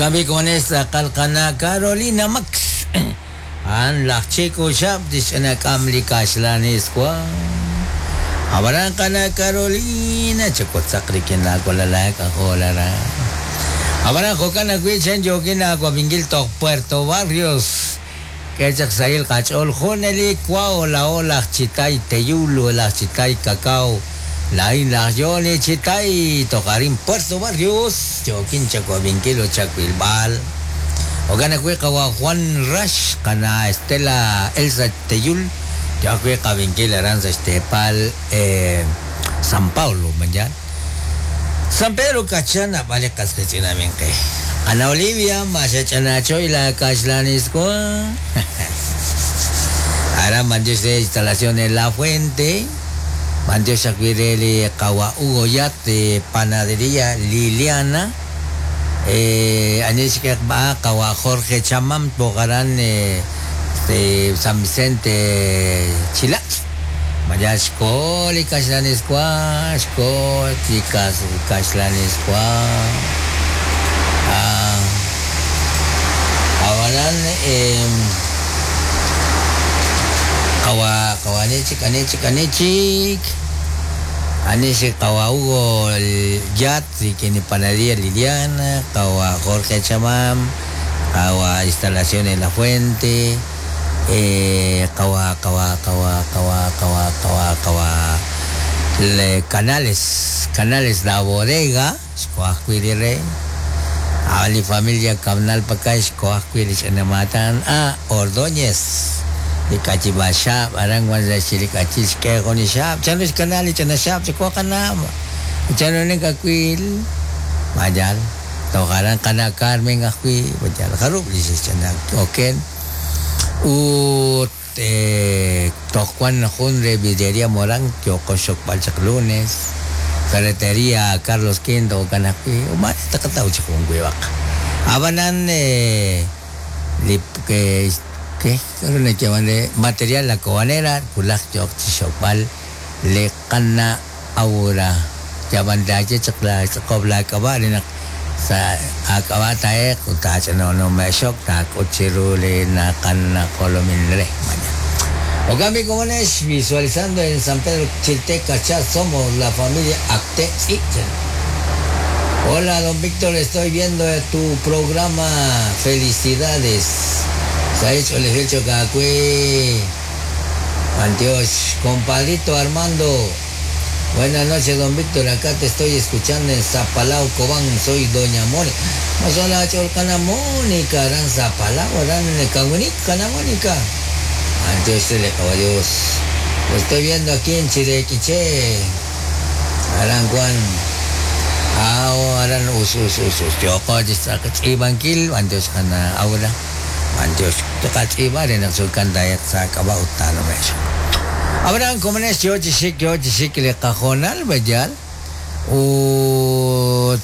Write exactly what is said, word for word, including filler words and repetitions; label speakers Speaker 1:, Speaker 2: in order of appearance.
Speaker 1: Okambi komones qalqana Carolina Max. An laj Chico Xab tixch'inak'am li kaxlaniswa. Abaran qana Carolina chakotzaq rikin laawalalak ajolara. Abaran jo'kan ajwi' chen yookin aawab'inkil toj Puerto Barrios. K'e chaq sahil qach'ool junelik wa laa'o laj Chitay Teyul laj Chitay Cacao. Laa'in laj Yoni Chitay toj arin Puerto Barrios yookin chawab'inkil ut chawilb'al. Jo'kan ajwi' qawa Juan Rax qana Estela Elsa Teyul yo ajwi' qab'inkil aran sa' xteepal eh, San Paulo mañan. San Pedro Cachán nab'al li qasqich'inaminqe. Ana Olivia maxach'anachoy la kaxlaniswa. Aran mandios de instalaciones La Fuente. Mandios ajwi' re li qawa Hugo Yat de Panadería Liliana. Eh, anis ba qawa Jorge Chamam tokaran eh, este, San Vicente Chilax. Maya xko li kaxlaniswa, xko li kaxlaniswa. Ah, awalan eh, kawa kawa anichik anichik anichik Anisi kawa Hugo Yat kini Panadería Liliana kawa Jorge Chamam kawa Instalaciones La Fuente eh, kawa kawa kawa kawa kawa kawa kawa le Canales Canales La Bodega xkoajwi re Ali familia Kamnal Pakay xkoajwi ch'anamatan ah Ordóñez likachibaxab aran wan sa xilikachil xk'ejo ni xab chanu xkanal chanaxab chikuaqanam chanu nikakwil mayal tojaran kana Carmen ajwi mayal jarub lixchana oken ut eh, tojkuan jun re vidriería Morán yoqoxokb'al chaq lunes ferretería Carlos Quinto kanajwi uma taqataw chaq jun wiwaq abanan eh, li que ¿Qué? Material la cobanera, kulaj yok chixokb'al le qana aura yabandaye chaqla chaqobla kaba rinaq sa akaba taeq utachano no meshok ta kuchiru le na qana kolomin re mañana. Ogami Comunes, visualizando en San Pedro Chilteca, ya somos la familia Acte Ichen. Hola, don Víctor, estoy viendo tu programa. Felicidades. Se ha hecho el hecho Cacue. Antioch, compadrito Armando. Buenas noches, don Víctor. Acá te estoy escuchando en Zapalao, Cobán. Soy doña Mónica. Masola Cholcana Mónica, Aran Zapalao, Aran Cagunica, Mónica. Antioch, le caballos. Lo estoy viendo aquí en Chirequiche. Aran Juan. Ah, aran us us us us. Yoko, Ibankil, Antioch, kana aura. Antioch, tokach'iba rin ang sulkan dayat sa kabautan mesyo. Abraham Comunes, yo chishik, yo chishik le cajonal, bayal. Ut